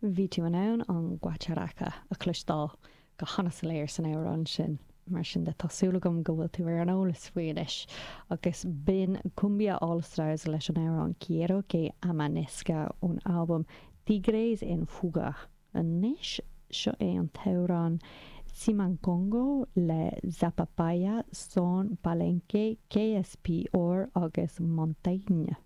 Bhí tú in ann an guacharaca a chloisteáil go han-soiléir san amhrán sin. Mar sin de, tá súil agam go bhfuil tú ar an eolas faoi anois. Agus b'in Cumbia All Stars leis an amhrán Quiero que Amanezca ón albam Tigres en Fuga. Anois, seo é an t-amhrán Tsimankongo le Zapapaya, Son Palenque, KSPR agus Montaigne.